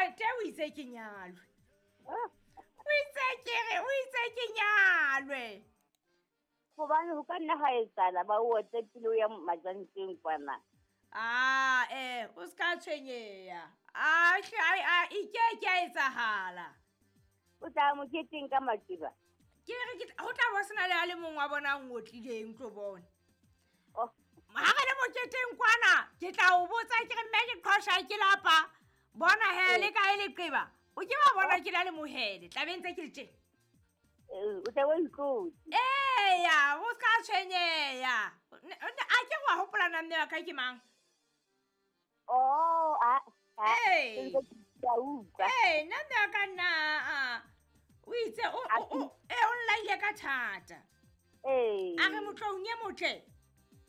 Ntate o itse ke nyalwe. O itse ke re, o itse ke nyalwe. Gobane go ka nna ga etsala ba o otle pele o ya majanteng kwana. A o se ka tshwenyeha. A hle a e ke ke a etsahala. O tla moketeng ka maqeba. Ke re ke go tla bo sena le a le mongwe wa bona a ngotlileng tlo bona. Oh. Ha re le moketeng kwana, ke tla o botsa ke re mme ke qhosha ke lapa. Bona he le kae leqeba. O ke wa bona ke la le mohele, tla be ntse ke le teng. O tla bo itlotse. Eya, o ska tshwenyeha. A ke wa hopola na mme wa ka ke mang? Oh, a Ee. ke a utlwa. Ee, nna mme wa ka nna o itse o o nlaile ka thata. Ee. A re motloung e motle.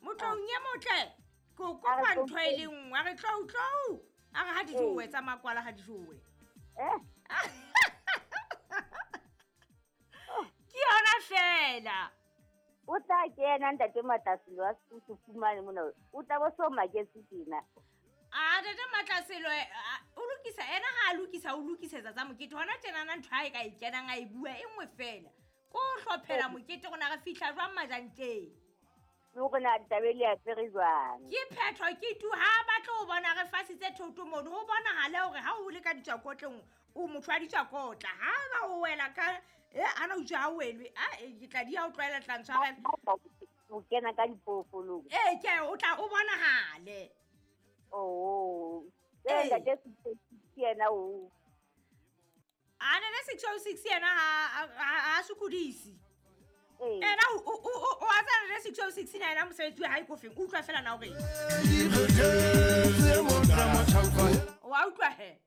Motloung e motle. Ke o kopa ntho e le nngwe. A re tlou tlou. A re ha di jowe tsa makwala ha di jowe. Eh. Ke yona fela. O tla kena ntate Matlaselo a se fumane mona. O tla bo so maketse tjena. A ntate Matlaselo o lokisa ena ha a lokisa o lokisetsa tsa mokete. Hona tjenana ntho ha e ka e kenang a e bua e nngwe fela. Ko hlophela mokete rona re fihla jwang majanteng. Le hore na taba e le apere jwang. Ke phetho ke tu ha batle ho bona re fasitse thoto mono. Ho bonahale hore ha o le ka ditswakotleng o motho wa ditswakotla. Ha ba o wela ka ana o utswa ha o welwe. A ke tla di ha o tlwaela tla ntshwarela. O kena ka dipoofolong. Ee, ke o tla o bonahale. Oh. Ee. Ntate ke yena o. A ne 606 yena ha sokodise. Ee. Ena o a tsena le 606 na yena mosebetsi wa hae ko feng? Utlwa fela na hore. Wa utlwa he.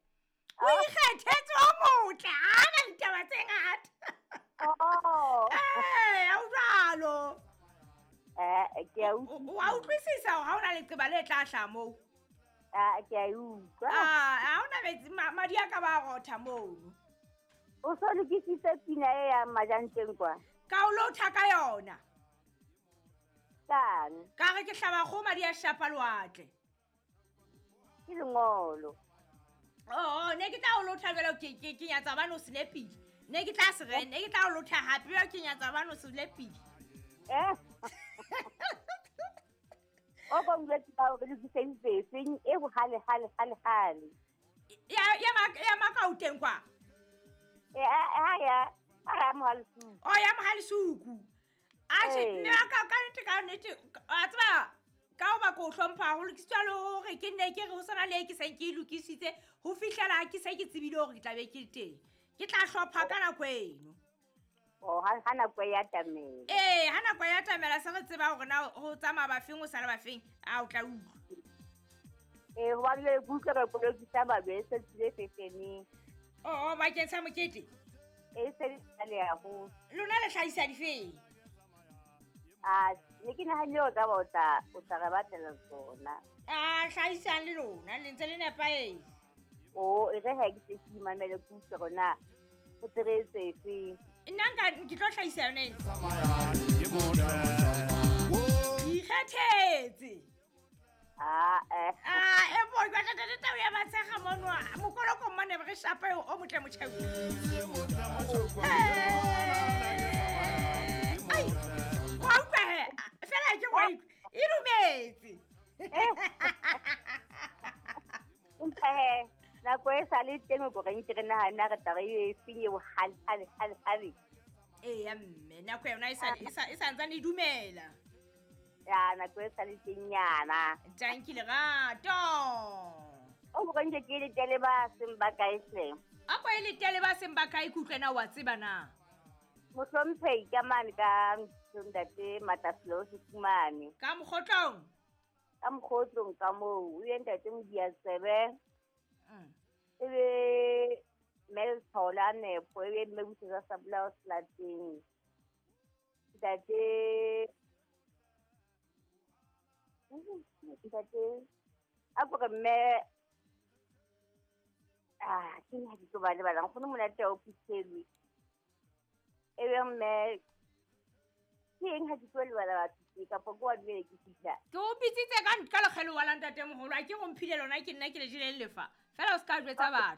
O ikgethetse o motle, ha na ditaba tse ngata. Oh. Ee, ha o jwalo. Ke a utlwa. Wa utlwisisa hore ha o na leqeba le tla hlaha moo. Ah, ke a utlwa. Ah, ha ona metsi, madi a ka ba rotha mono. O so lokisitse pina e ya majanteng kwa? Ka o lotha ka yona. Kang? Ka re ke hlaba kgomo madi a shapa lewatle. Ke lengolo. Oh, ne ke tla o lotha jwale ke nyatsa bana o se lepile. Ne ke tla se re, ne ke tla o lotha hape jwale ke nyatsa bana o se lepile. Eh. O ba utlwa ke ba o lokisitse efeng e ho hale hale hale hale. Ya Makauteng kwa. Ha ya, ha ya Mohalesuku. Oh, ya Mohalesuku. Atjhe, Ee. mme wa ka, ka nnete, ka nnete, a tseba, ka hoba ke o hlompha haholo, ke sitwa le hore ke nne ke re ho sena le e ke seng ke e lokisitse, ho fihlela ke se ke tsebile hore ke tla be ke le teng. Ke tla hlopha ka nako eno. Oh, ha nako e atamela. Ee, ha nako e atamela se re tseba hore na ho tsamaya bafeng, ho sala bafeng, a o tla utlwa. Ee, hobane jwale ke utlwa ka kolokisa babe e se tswile fefeneng. Oh, bakeng sa mokete? E se le kgale haholo. Lona le hlahisa difeng? Ah, ne ke nahanne o tla ba o tla re batlela tsona. Ah, hlahisang le lona, le ntse le nepahetse. Oh, e re ha ke se ke imamele ke utlwe hore na o tsebetse efeng. Nna nka ke tlo hlahisa yona ena. Ikgethetse. Ah, eh. Ah, e bo, ke batla tata tau ya Matshekga mono. Mokoloko mane re shapa eo o motle motjheu. Ai, wa utlwa he? Fela ke wa utlwa. E dumetse. Empa he, nako e sa le teng o re nke re nahana re tla re e feng eo hale, hale, hale, hale. Eya mme, nako yona e sa, e sa, e sa ntsane e dumela. Ya, nako e sa le teng nyana. Tanki lerato. O mo nke ke le tele ba seng ba kae hle. A ko e le tele ba seng ba kae, ke utlwe na wa tseba na? Mohlomphehi ka mane ka ntate Matlaselo Sekumane. Ka mokgotlong? Ka mokgotlong ka moo, o ye ntate Modiatsebe. E be Mel Thola Nepo, e be mme Busetsa Sabolao Selateng. Ntate Ntate, a ko re mme, ah, ke nna ke tlo ba lebala, nkgono monate wa o phuthelwe. E be mme, ke eng ha ke tlo lebala batho tje, kapa ke wa dumele ke fihla? Ke o bitsitse ka lekgelo wa la ntatemoholo, ha ke go mphile lona, ke nna ke le jele lefa. Fela o se ka jwetsa batho.